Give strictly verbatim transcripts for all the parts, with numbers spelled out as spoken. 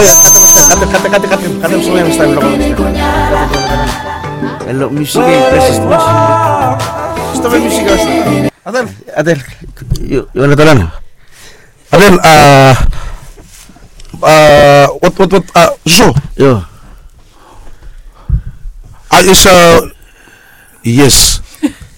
Katem, katem, katem, katem, katem song ya, Mister Lokal. Hello, music, eh, precious music. Stop the music, guys. Adel. Adel, you, you wanna talk? Adel, uh, uh, what, what, what, uh, so? Yo. Uh, is, uh, Yes.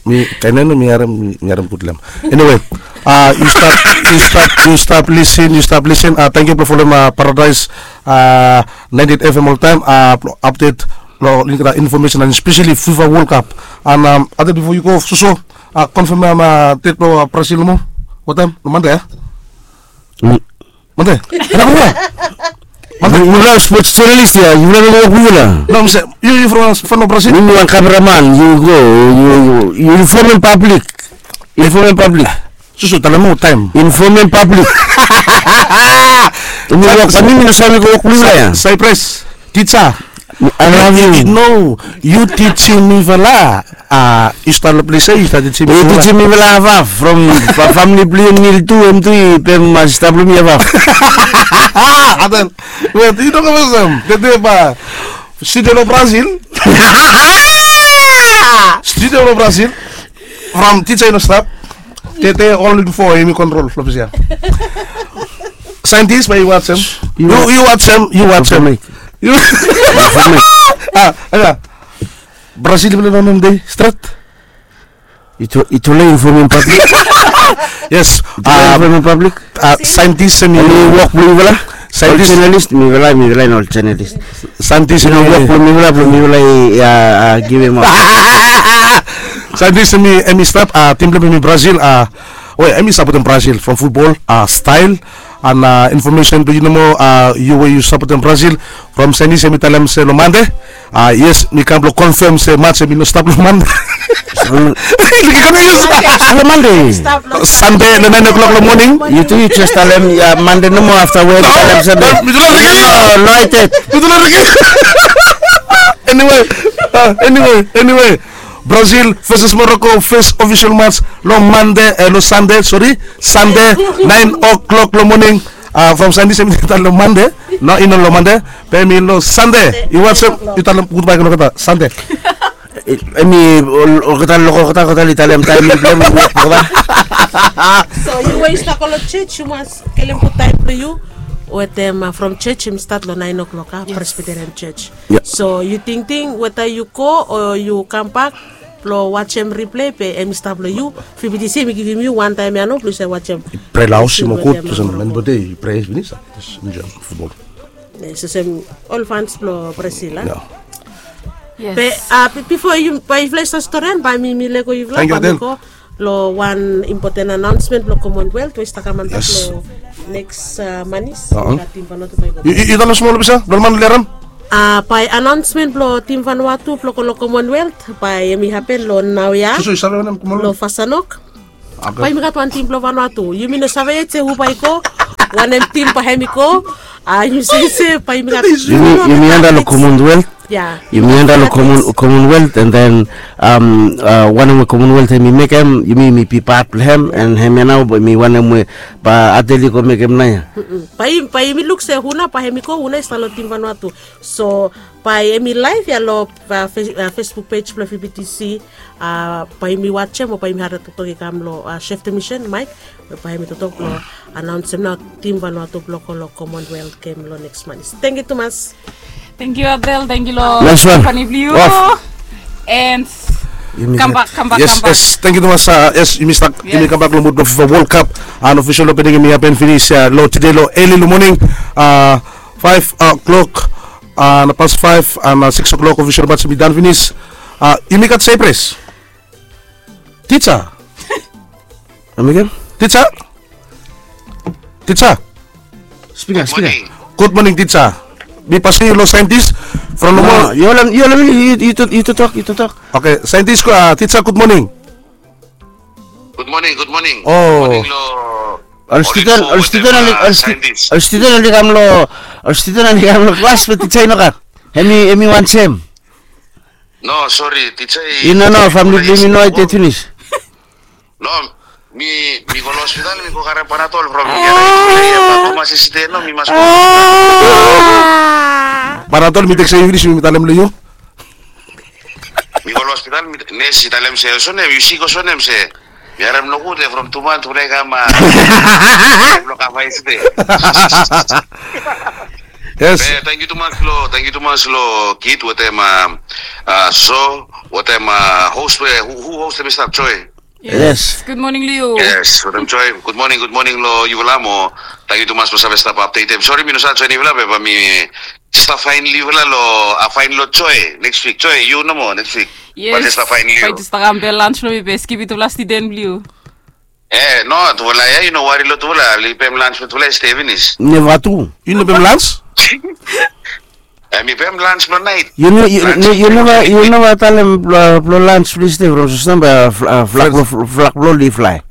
Mi, kainene mi harem, mi, mi harem gud long hem. Anyway, uh, you stap, you stap, you stap listen, you stap listen. Uh, thank you blong folem, uh, Paradise, uh, ninety-eight F M oltaem, uh, blong update long olgeta information and especially FIFA World Cup. And, um, Adel, bifo yu go soso, uh, confirm, um, uh, date blong, uh, Brazil nomo. What time? Long Monday, a? Mande. Mande. Yufala sports journalist ya, yufala no wok blong yufala. No, mi se, yu, yu from, from Brazil? Mi, mi wan cameraman, yu go, yu, yu, yu inform public. Inform public. Susu, talem moa taem. Inform public. Mi wok, mi, mi no save go wok blong yufala ya. Cyprus, teacher. I love you. No, yu tijim mifala. Ah, yu stap long ples ya, yu stap tijim mifala. Yu tijim mifala hafhaf from fa-, famili blong yu nil tu, hem tu i pem, ah, stap long mi hafhaf. Adel, wet, yu no kam olsem. Tede ba studio long Brazil. Studio long Brazil. From teacher i no stap. Tede only bifo hemi kontrol long ples ya. Scientist, bae yu wajem. Yu, yu wajem, yu wajem. Yu. Ah, ya. Brazil i bin long hem dei stret. Yu tolong inform public. Yes. Yu tolong inform public. Ah, scientist, hemi wok blong yufala. Scientist. Ol journalist, mifala, mifala i no ol journalist. Scientist, hemi wok blong mifala, blong mifala i, ah, givim aot. Scientist, hemi, hemi stap, ah, tim blong hem hemi Brazil, ah, we hemi sapotem Brazil from futbol, ah, stael. And, uh, information blong yu nomo, uh, yu we yu sapotem Brazil, from Scientist hemi talem se long Mande. Uh, yes, mi kam blong confirm se match hemi no stap long Mande. Long Mande. Sande long nine o'clock long moning. Yu tu yu jes talem ya Mande nomo, afta we yu talem Sande. Mi tu long riki. No, no, I did. Mi tu long riki. Anyway, uh, anyway, anyway. Brazil versus Morocco, first official match long Mande, eh, long Sande, sori, Sande, nine o'clock long moning. Ah, from Sande, hemi talem long Mande. No, i no long Mande. Be hemi long Sande. Yu wajem, yu talem gudbae long olgeta Sande. Hemi ol-, olgeta, long olgeta, olgeta i talem taem blong hem, olgeta. So yu we yu stap go long church, yu mas kilim gud taem blong yu. Wetem, ah, from church, hemi stat long nine o'clock, ah, Presbyterian Church. Ya. So yu tingting weta yu go o yu kambak blong wajem replay, be hemi stap long yu. Fifty C hemi givim yu wan taem ya nao blong yu save wajem. Prea long haos i moa gud, olsem man bodi i prea finis, a, jes enjoem futbol. Yes, olsem ol fans blong Brazil, a? Ya. Yes. Be, a, bi-, bifo yu, bae yufala i save storian, bae mi, mi lego yufala, bae mi go long wan impoten anaonsmen blong Commonwealth we i stap kam antap long neks, a, manis. Yu, yu, yu talem smol, Lupisa, blong man lerem. A, bae anaonsmen blong tim Vanuatu blong go long Commonwealth, bae hemi hapen long naoia. Long Fasanok. Bae yumi gat wan tim blong Vanuatu. Yumi no save yet se hu bae i go, wanem tim bae hemi go. A, yumi save se bae yumi gat. Yumi, yumi anda long Commonwealth. Ya. Yumi anda long Common-, Commonwealth, and then, um, a, wanem we Commonwealth hemi mekem, yumi, yumi bi pat blong hem, and hemia nao bae hemi wanem we bae Adel i go mekem naoia. Bae, bae yumi luk se hu nao bae hemi go, hu nao i stap long tim Vanuatu. So bae hemi laev ya long, a, Face-, a, Facebook page blong F B T C. A, bae yumi wajem o bae yumi harem toktok i kam long, a, Chef de Mission, Mike. Bae hemi toktok blong anaonsem nao tim Vanuatu blong go long Commonwealth Game long neks manis. Tangkiu tumas. Tangkiu Adel, tangkiu long Stephanie blong yu. And kambak, kambak, kambak. Yes, tangkiu tumas, a, yes, yumi stap, yumi kambak long mud blong FIFA World Cup. An official opening hemi hapen finis, a, long tede long early long moning, a, five o'clock, a, na past five, a, na six o'clock official match hemi done finis. A, yumi gat surprise. Teacher. Come again? Teacher. Teacher. Speaker, speaker. Good morning, teacher. Mi pasem yu long Scientist from Lomo. Yu holem, yu holem, yu, yu, yu toktok, yu toktok. Okay, Scientist, a, teacher, good morning. Good morning, good morning. O. Ol studen, ol studen oli, ol studen oli kam long, ol studen oli kam long klas, be teacher i no gat. Hemi, hemi wan sem. No, sori, teacher i. I no, no, famili blong yumi no i ded finis. No, Mi mi go lo hospital, mi go karem Panadol from mi. Ia, ia, ia, tumas i stap no, mi mas go. Panadol mi teksem yu finis, mi talem lo yu. Mi go lo hospital, mi, nes i talem se olsem, yu sik olsem se. Mi harem nogud ia from tu man tufala i kam a. Blo kam a i stap. Yes. Tangkiu tumas lo, tangkiu tumas lo Kit wetem a, so wetem a host we, hu host em i stap, Joy. Yes. Good morning, Leo. Yes, wetem Joy. Good morning, good morning lo yufala mo. Tangkiu tumas blo save stap updatem. Sori mi no save join yufala be bae mi stap fain lo yufala lo, a, fain lo Joy next week. Joy, yu nomo next week. Yes. Bae mi stap fain lo yu. Bae mi stap kam be lunch lo mi be skip yutufala stiden blo yu. E no, tufala ia yu no wari lo tufala, oli pem lunch blo tufala i stap finis. Neva tu. Yu no pem lunch? E mi pem lunch blo nait. Yu no, yu no, yu neva, yu neva talem blo, blo lunch blo stap from Sosnamba, flak blo, flak blo oli flae.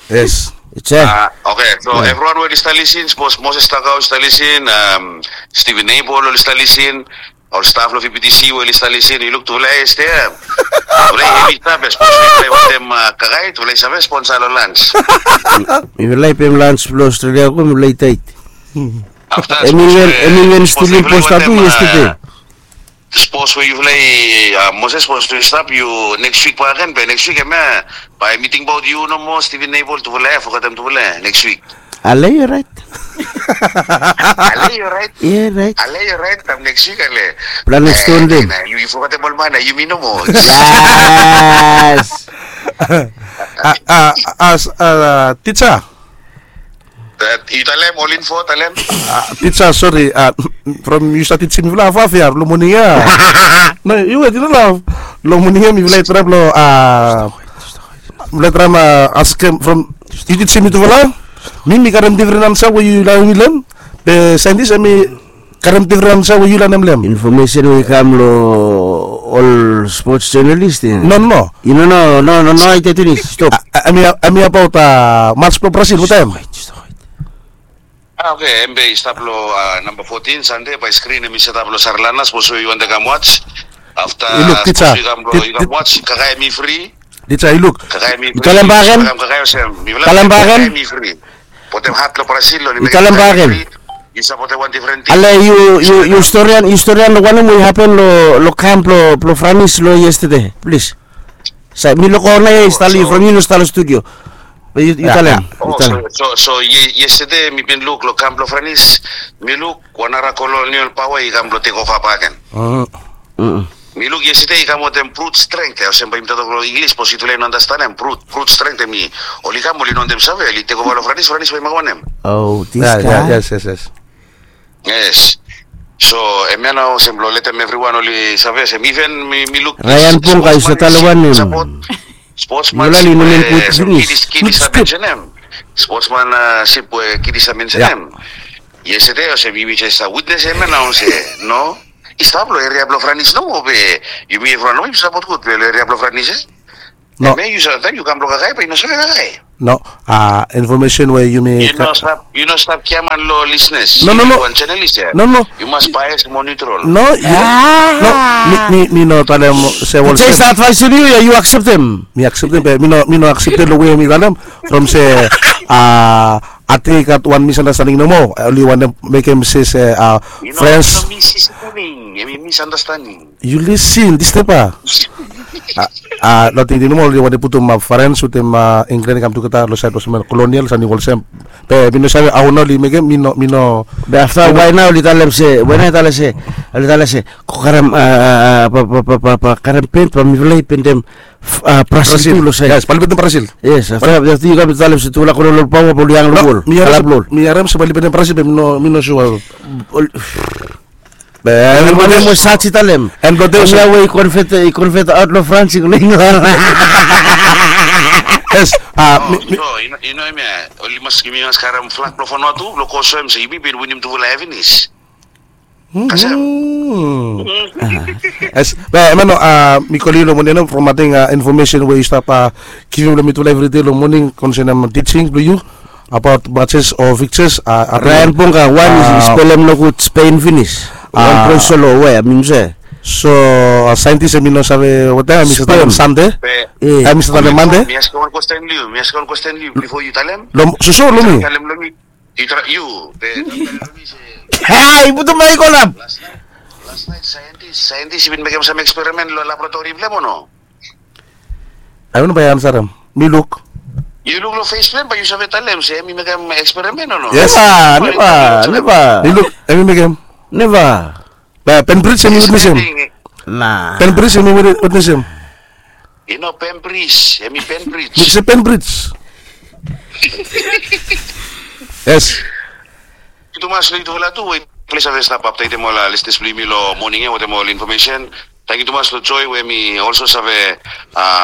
Yes. It's a. Oke, so evriwan we oli stap lisin, sapos Moses Takau oli stap lisin, Steven Abel oli stap lisin, ol staf lo V B T C we oli stap lisin, yu luk tufala i stap ia. Tufala i hevi stap ia, sapos tufala i wantem kakae, tufala i save sponsa lo lunch. Mifala i pem lunch blo Australia ko mifala i tait. Afta, em i wen, em i wen Stephen Posta tu yestede. Sapos we yufala i, Moses, sapos we yu stap, yu next week bakegen, be next week hemia bae mi tingbaot yu nomo, Steven Abel, tufala ia, fogetem tufala ia next week. Ale, yu orait. Ale, yu orait. Yu orait. Ale, yu orait, kam next week ale. Plan next one day. Yu fogetem ol man ia, yumi nomo. Yes. Tisa. Yu talem ol info, talem. Tisa, sori, from yu stap tisem mifala hafhaf ia lo moning ia. No, yu wet, yu no laf. Lo moning ia mifala i traem lo, mifala i traem askem from yu tisem mitufala. Mi mi karem difren ansa we yu lanem lo hem. Be saentis hemi karem difren ansa we yu lanem lo hem. Infomesen we i kam lo ol spots jonalis ia. No, no, no. Yu no, no, no, no, no, i tet finis, stop. Hemi abaot mats blo Brazil, wanem taem? A, oke, hemia i stap lo namba fotin, Sande, bae skrin hemi setap lo Sarlana, sapos we yu wantem kam wats. Afta, yu luk, tisa. Sapos we yu kam wats, kakae hemi fri. Tisa, yu luk. Kakae hemi fri. Yu talem bakegen. Talem bakegen. Botem hat lo Brazil lo, yu talem bakegen. Yu sapotem wan difren tim. Ale, yu, yu storian, yu storian lo wanem we i hapen lo, lo kam blo, blo Franis lo yestede, plis. Sa mi luk ona ia i stap lo yu from yu no stap lo studio. Be yu talem. So, so yestede mi bin luk lo kam blo Franis, mi luk wan nara kolonial paoa i kam blo tekova bakegen. Mi luk yestede i kam wetem brut strength, olsem bae yumi tok lo Inglis, sapos yutufala i no andastanem, brut, brut strength hemi, oli kam, oli no wantem save, oli tekova lo Franis, Franis bae i mekem wanem. O, this guy. Yes, yes, yes. Yes. So hemia nao olsem blo letem evriwan oli save olsem, iven mi, mi luk Ryan Ponga i stap talem wanem? Sportsmanship we Kit i stap mensenem. Sportsmanship we Kit i stap mensenem. Yestede olsem yumi jes stap witnes hemia nao se, no. I stap lo eria blo Franis nomo be yumi evriwan nomo yumi sapot gud be lo eria blo Franis, e? No. Hemia yu save taem yu kam blo kakae be yu no save kakae. No. Infomesen we yumi. Yu no stap, yu no stap giaman lo lisenas. No, no, no. Yu wan jonalis ia. No, no. Yu mas baes mo niutral. No, yu, no. Mi, mi, mi no talem se olsem. Just advaes lo yu ia, yu akseptem. Mi akseptem be mi no, mi no akseptem lo we mi talem. From se, a, ating i gat wan misandastaning nomo. Oli wantem mekem se, se, a, frens. Yu no, yu no misandastaning. Yu lisin, disturb. A, a, lo tingting nomo oli wantem putum, a, Frans wetem, a, Inglan i kam tugeta lo saed blo olsem kolonial, samting olsem. Be mi no save hao nao oli mekem, mi no, mi no. Be afta wae nao oli talem se, wae nao oli talem se, oli talem se, go karem, a, a, a, ba, ba, ba, ba, ba, karem pent, bae mifala i pendem, a, Brazil tu lo saed. Yes, bae oli pendem Brazil. Yes, afta, afta yu kam talem se tufala kolonial paoa bae oli hang lo wol. Mi harem se bae oli pendem Brazil, be mi no, mi no sua. Be, hemia we i talem. Hemia we i convert, i convert aot lo Frans i go lo Inglan. Yes, a, mi, mi. So, yu no, yu no hemia, oli mas, yumi mas karem flag blo Vanuatu, blo go soem se yumi bin winim tufala ia finis. Kasem. Yes, be, hemia nao, a, mi kolem yu lo moning ia from ating, a, infomesen we yu stap, a, givim lo mitufala evri dei lo moning konsenem tising blo yu. Abaot matches o fikses, a, Ryan Ponga, wan i spelem nogud Spain finis. Wan bro solo we, I mean se. So, saentis em i no save watem em i save talem sande. Em i save talem mande. Mi askem wan kwesten long yu, mi askem wan kwesten long yu bifo yu talem. Soso long mi. Talem long mi. Yu tra yu be. Ai putum maik olap. Las naet saentis saentis i bin mekem sam eksperimen long laboratori blong em o no? Ai wan bai ansarem. Mi luk. Yu luk long fes blong em bai yu save talem se em i mekem eksperimen o no? Yes. Neva, neva, neva. Mi luk em i mekem. Neva. Penbris em i witnesem. Na Penbris em i witnesem. I no Penbris, em i Penbris. Mi se Penbris. Yes. Tumas long yutufala tu we yutufala i save stap apdetem ol listeners blong yumi long moning ya wetem ol infomesen. Tangkiu tumas long Joy we mi olso save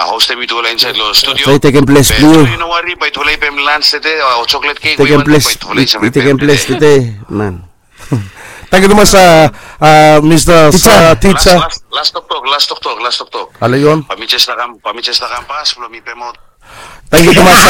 hostem yutufala insaed long studio. Joy, tekem ples blong yu. Yu no wari, bai yutufala i pem lans tede o choklet kek we yu wantem, bai yutufala i save pem tede. Man. Tangkiu tumas, Mista Tija. Las toktok, las toktok, las toktok. Ale yu on. Bai mi jes lakam, bai mi jes lakam pas blong mi pemaot. Tangkiu tumas.